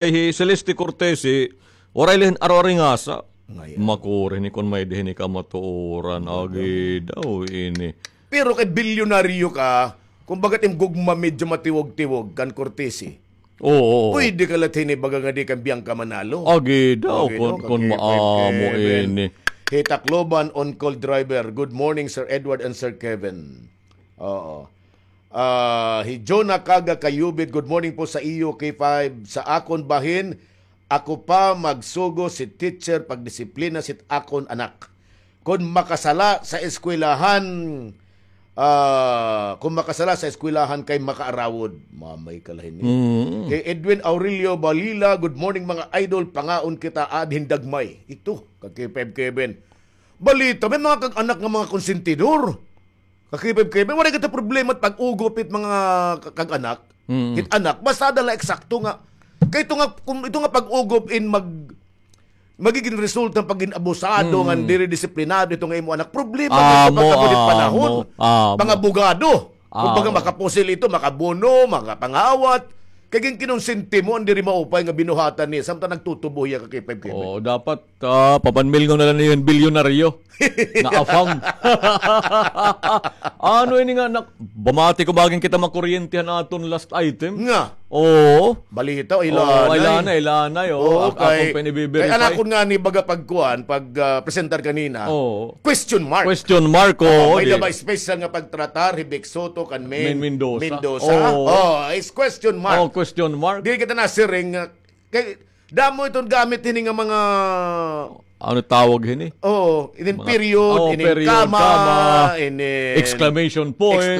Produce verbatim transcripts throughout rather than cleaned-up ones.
Kay hi Celeste Cortese, waray la hin aro-aringasa. Makuri ini kon may-ada hini kamatuoran. Agi daw ini. Pero kay bilyonaryo ka, kumbaga it im gugma medyo matiwog-tiwog kan Cortese. Oo. Pwede ka la hini baga nga di kan Bianca Manalo. Agi daw, kon maamo ini. Hi Tacloban on call driver. Good morning, Sir Edward and Sir Kevin. Oo. Ah, hi Jonah Kaga Kayubit, good morning po sa iyo, K five. Sa akon bahin, ako pa magsugo si teacher pagdisiplina sit akon anak. Kon makasala sa eskwelahan, ah, kon makasala sa eskwelahan kay makaarawod. Mamay ka la hini. Kay Edwin Aurelio Balila, good morning mga idol, pangaon kita, add hin dagmay. Ito, ka K five Kevin. Balita, may mga kag-anak nga mga konsentidor. Ka K five Kevin, waray kita problema pag-ugop it mga ka-, kag-anak. It anak, basta ada la eksakto nga. Kay ito nga, kung ito nga pag-ugop in mag-, magiging resulta pag-abusado nga diri disiplinado ito nga imo anak. Problema ito pagkabudit panahon. Mga abogado. Kumbaga makapusil ito, makabuno, makapangawat. Kay ginkinonsente mo an diri maupay nga binuhatan niya. Samtang nagtutubo hiya ka K five Kevin. Oo, dapat Ah, papanmilngaw na la niyo hin bilyonaryo nga afam. Ano ini nga, nak-, bamati ko baga kita makuryente han aton last item. Nga. Oo. Balita, ilanay. Oo, ilanay, ilanay, oo. Oo, kay, akon pa ini i-verify. Kay an akon ngani baga pagkuan, pag, ah, presentar kanina. Oo. Question mark. Question mark, oo, may-ada ba special nga pagtratar hi Vic Sotto kan Main Mendoza? Oo. Oh, is question mark. Oh, question mark. Diri kita nasiring nga, kay, damo iton gamit hini nga mga ano tawag hini? Oo, inin period, inin comma, inin exclamation point,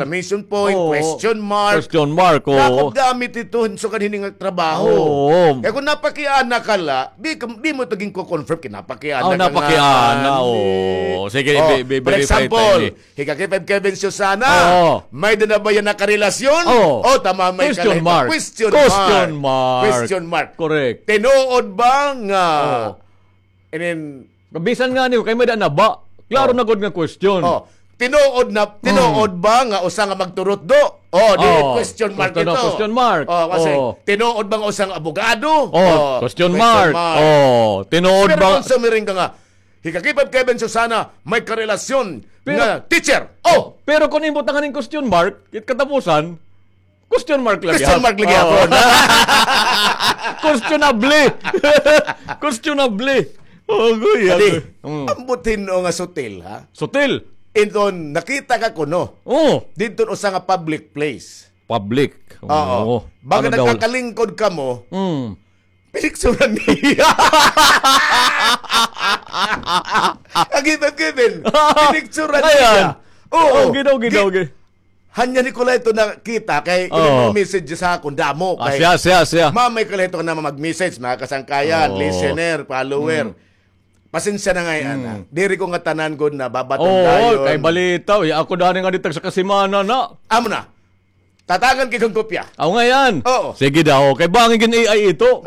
question mark. Question mark, oo. Dako gamit ito, sukad hini nga trabaho. Oo. Kay kon napakiana ka la, di ka, di mo ito ginko-confirm kay napakiana ka nga. Napakiana, oo. Sige, i-verify ta ini. Hi ka K five Kevin Susana, may-ada na ba hiya nakarelasyon? O, tama, may question mark. Question mark. Question mark. Correct. Tinuod ba nga, and then, bisan ngani, kay may-ada na ba? Klaro na gud nga question. Tinuod na, tinuod ba nga usa nga magturutdo? O, di question mark ito. Question mark. O, kasi, tinuod ba nga usa nga abogado? O, question mark. O, tinuod ba? Pero kon sumiring ka nga, hi ka K five Kevin Susana, may karelasyon nga teacher. O! Pero kon imo tangan hin question mark, it katapusan, question mark la gihapon. Question mark la gihapon. Questionable. Questionable. Agoy, agoy. Ambot hin-o nga sutil, ha? Sutil. Iton, nakita ka kuno. O. Didton usa nga public place. Public. Oo. Baga nagkakalingkod kamo. Pinicturan niya. Ang gitan-gitan. Pinicturan niya. Oo. Ginaw, ginaw, ginaw. Hanya ni ko la ito nakita kay imo message sa akon damo kay. Siya, siya, siya. Mamay ka la ito nga mag-message, mga kasangkayan, listener, follower. Pasensya na ngay-an, ha. Diri ko ngatanan gud na babaton dayon. Oo, kay balita, uy, ako dani nga ditag sa kasimana na. Amo na. Tatagan ko hin kopya. Aw, ngay-an. Oo. Sige daw. Kay bangin gin A I ito.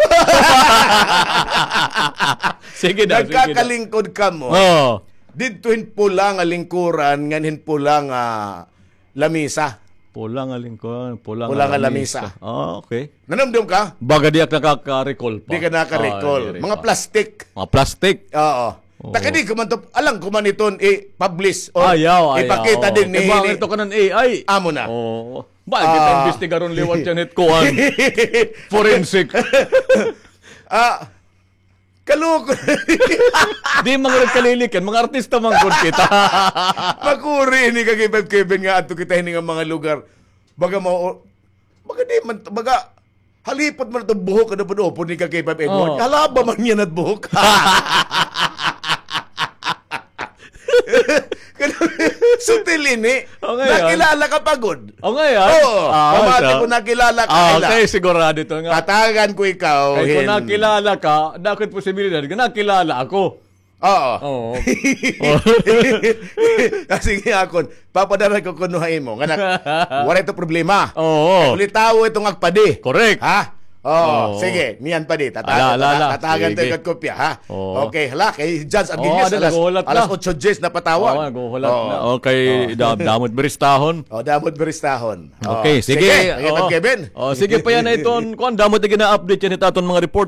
Sige daw, sige daw. Nagkakalingkod kamo. Oo. Didto hin pula nga lingkuran, ngan hin pula nga lamisa. Pula nga lingkuran, pula nga lamisa. Ah, okay. Nanumdom ka? Baga di ak nakaka-recall pa. Di ka naka-recall. Mga plastic. Mga plastic? Oo. Takadi ko man to, alam ko man iton i-publish o ipakita dinhi. Ayaw, ayaw. Iba ito kanan A I. Amo na. Oo. Ba, kita imbestigaron liwat yan it kuan. Forensic. Ah, kaloko. Di man gud kalilikan, mga artista man gud kita. Makuri ini ka K five Kevin nga adto kita hini nga mga lugar. Baga mao, baga di man, baga, halipot man ito buhok, ano po, upod ni ka K five Edward. Oo. Halaba man niya na buhok. Sutil ini. O, ngay-an. Nakilala ka pa gud. O, ngay-an. Oo. Ah, pamati ko nakilala ka. Ah, kay sigurado ito nga. Tatagan ko ikaw. Kay kung nakilala ka, dako it posibilidad nga nakilala ako. Oo. Oo. Ah, sige, akon. Papadara ko kuno ha imo. Nga nak-, waray ito problema. Oo. Ulitawo itong agpadi. Correct. Ha? Oh, sige, niyan pa di. Tata-, Ala, ala, tata-, ala. Tatagan ta Sige. Ikot kopya, ha? Oo. Okay, hala, kay Judge Oo, Agilias, ada, alas, naghuhulat alas na. otso diyes na patawag. Oo, naghuhulat Oo. na. Okay, Oo. da-, damo it biristahon. Oh, damo it biristahon. Okay, Oh, sige. sige, nakita Oo. Kevin. Oh, sige pa yana iton, kuan, damo it gina-update yana hit aton mga report.